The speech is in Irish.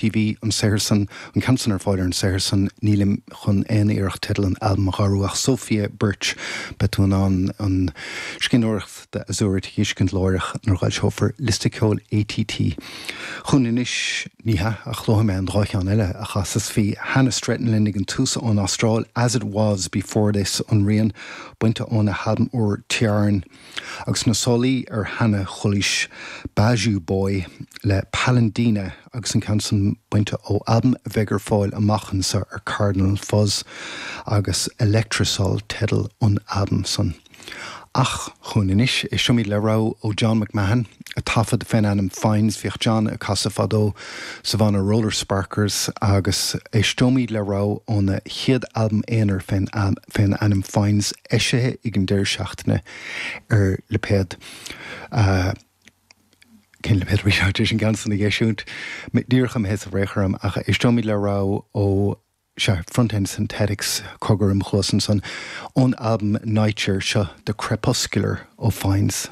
TV, an saothar san, an ceann san ar fáil ar an saothar san, nílim chun aon iarracht teideal an albaim a shárú ach Sophia Birch, beidh tú in ann an scríbhneoireacht de Azurite a dh'fheiscint láithreach nuair a dh'fhoilseofar liosta ceoil ATT chugainn anois, ní hea, ach luafaidh mé an dá cheann eile a chasas. Bhí Hannah Stretton linn ag an tús ón Astráil, As It Was Before This an rian, bainte óna halbam úr Tiarn. Agus sna sálaí ar Hannah chualaís Bajou Boy le Palindina agus an ceann san bainte ó albam a bheidh ar fáil amach anseo ar Cardinal Fuzz agus Electrosol teideal an albaim san. Ach chugainn anois, éisteoimid le rogha ó John McMahon a taifead fén ainm Fynes. Bhíodh John ag casadh fadó sa bhanna Roller Sparkers agus éisteoimid le rogha óna chéad albam aonair fén ainm Fynes. eisithe ag an deireadh seachtaine ar lipéad Cén lipéad a bhí sé tar éis an ceann san a dh'eisiúint? Díreach imithe sa bhfraoch orm ach éisteoimid le rogha ó, sea, Front End Synthetics, cogar im chluas ansan, ón albam Nightshare, seo The Crepuscular ó Fynes.